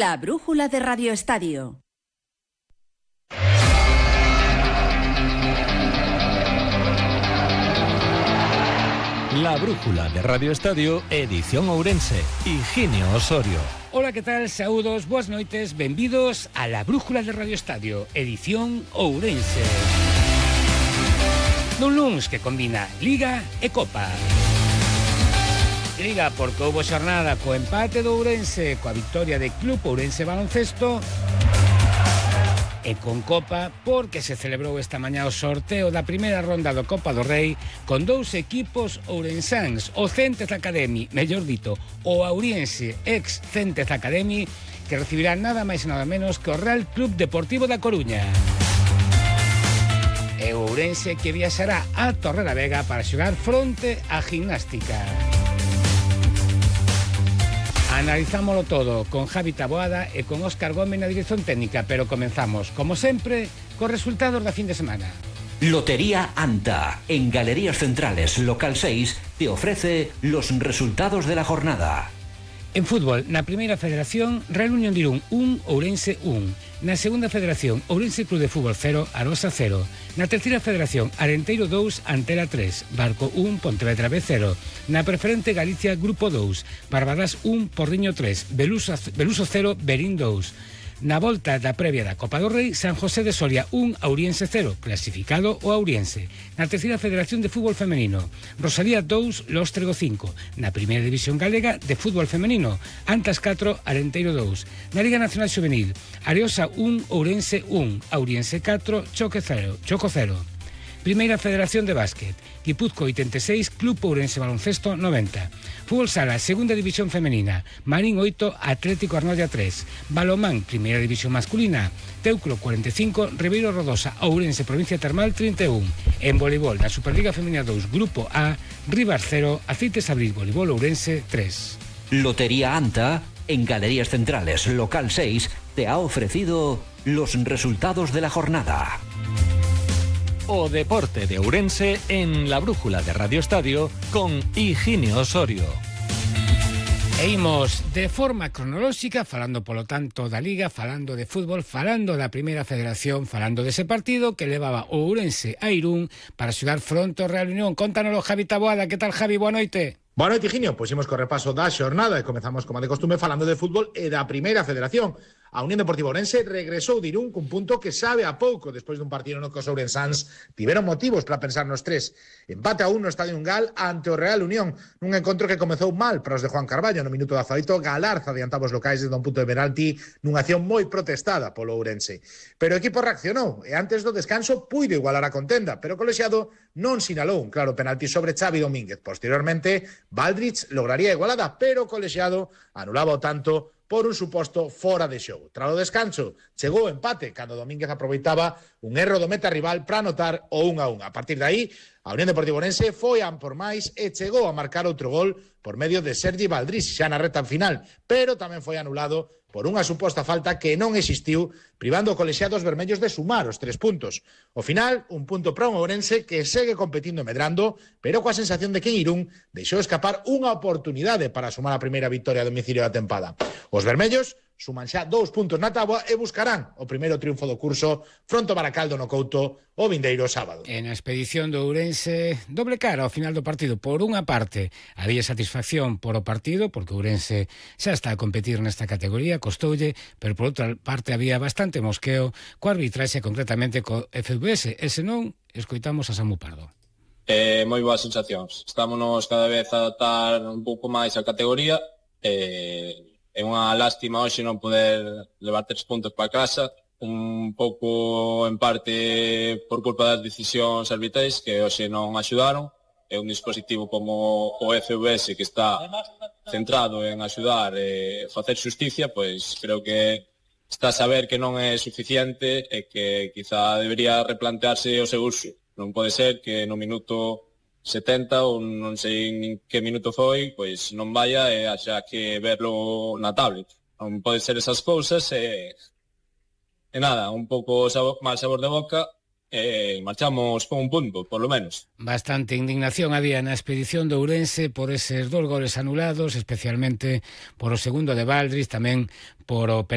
La brújula de Radio Estadio. La brújula de Radio Estadio, edición Ourense, Higinio Osorio. Hola, ¿qué tal? Saúdos, boas noites, benvidos a La brújula de Radio Estadio, edición Ourense. Dun luns que combina Liga e Copa. Liga porque houbo xornada co empate do Ourense, coa victoria de Club Ourense Baloncesto, e con Copa porque se celebrou esta mañá o sorteo da primeira ronda do Copa do Rei con dous equipos ourensáns, o Céntez Academy, mellor dito, o Auriense ex Céntez Academy, que recibirá nada máis e nada menos que o Real Club Deportivo da Coruña. E o Ourense que viaxará a Torrelavega para xogar fronte á Gimnástica. Analizámoslo todo con Javi Taboada e con Óscar Gómez na dirección técnica, pero comenzamos, como sempre, cos resultados da fin de semana. Lotería Anta, en Galerías Centrales, local 6, te ofrece los resultados de la jornada. En fútbol, na primeira federación, Real Unión de Irún 1, Ourense 1. Na segunda federación, Ourense Club de Fútbol 0, Arosa 0. Na terceira federación, Arenteiro 2, Antela 3, Barco 1, Pontevedra B 0. Na preferente Galicia, Grupo 2, Barbadas 1, Porriño 3, Beluso 0, Berín 2. Na volta da previa da Copa do Rei, San José de Soria 1, Auriense 0, clasificado o Auriense. Na terceira federación de fútbol femenino, Rosalía 2, Lóstrego 5. Na primeira división galega de fútbol femenino, Antas 4, Arenteiro 2. Na Liga Nacional Xuvenil, Areosa 1, Ourense 1, Auriense 4, Choco 0. Primeira Federación de Básquet, Guipúzcoa 86, Club Ourense Baloncesto 90. Fútbol Sala, Segunda División Femenina, Marín 8, Atlético Arnoia 3. Balomán, Primeira División Masculina, Teucro 45, Ribeiro Rodosa, Ourense Provincia Termal 31. En voleibol, na Superliga Femenina 2, Grupo A, Rivas 0, Aceites Abril Voleibol Ourense 3. Lotería Anta, en Galerías Centrales, local 6, te ha ofrecido los resultados de la jornada. O deporte de Ourense en la brújula de Radio Estadio con Higinio Osorio. E imos de forma cronolóxica, falando polo tanto da Liga, falando de fútbol, falando da primeira federación, falando dese partido que levaba o Ourense a Irún para xogar fronte ao Real Unión. Contánoslo, Javi Taboada. Que tal, Javi? Boa noite. Boa noite, Higinio. Pois imos co repaso da xornada e comezamos, como de costume, falando de fútbol e da primeira federación. A Unión Deportiva Ourense regresou de Irún cun punto que sabe a pouco despois dun partido no que os ourensáns tiveron motivos para pensar nos tres. Empate a 1 no Estadio Ungal ante o Real Unión, nun encontro que comezou mal para os de Juan Carballo. No minuto 18, Galarza adiantaba os locais desde un punto de penalti nunha acción moi protestada polo Ourense. Pero o equipo reaccionou e antes do descanso puido igualar a contenda, pero o colexiado non sinalou un claro penalti sobre Xavi Domínguez. Posteriormente, Baldrich lograría a igualada, pero o colexiado anulaba o tanto por un suposto fora de xogo. Tras o descanso, chegou o empate, cando Domínguez aproveitaba un erro do meta rival para anotar o 1-1. A partir de aí, a Unión Deportiva Ourense foi a por máis e chegou a marcar outro gol por medio de Sergi Baldrich, xa na reta final, pero tamén foi anulado por unha suposta falta que non existiu, privando o colexiado dos vermellos de sumar os 3 puntos. Ao final, un punto para un Ourense que segue competindo e medrando, pero coa sensación de que en Irún deixou escapar unha oportunidade para sumar a primeira victoria a domicilio da tempada. Os vermellos suman xa 2 puntos na táboa e buscarán o primeiro triunfo do curso fronte ao Baracaldo no Couto o vindeiro sábado. En a expedición do Ourense, doble cara ao final do partido. Por unha parte, había satisfacción por o partido, porque o Ourense xa está a competir nesta categoría, costoulle, pero por outra parte había bastante mosqueo co arbitraxe, concretamente co FVS, e senón, escoitamos a Samu Pardo. Moi boas sensacións. Estámonos cada vez a adaptar un pouco máis a categoría, é unha lástima hoxe non poder levar 3 puntos para casa, un pouco en parte por culpa das decisións arbitrais que hoxe non axudaron. É un dispositivo como o FVS que está centrado en axudar e facer xusticia, pois creo que está a saber que non é suficiente e que quizá debería replantearse o seu uso. Non pode ser que no minuto 70 ou non sei nin que minuto foi, pois non vaya e haxa que verlo na tablet. Non pode ser esas cousas e nada, un pouco mal sabor de boca e marchamos con un punto, por lo menos. Bastante indignación había na expedición de Ourense por eses 2 goles anulados, especialmente por o segundo de Baldrich, tamén por o penalti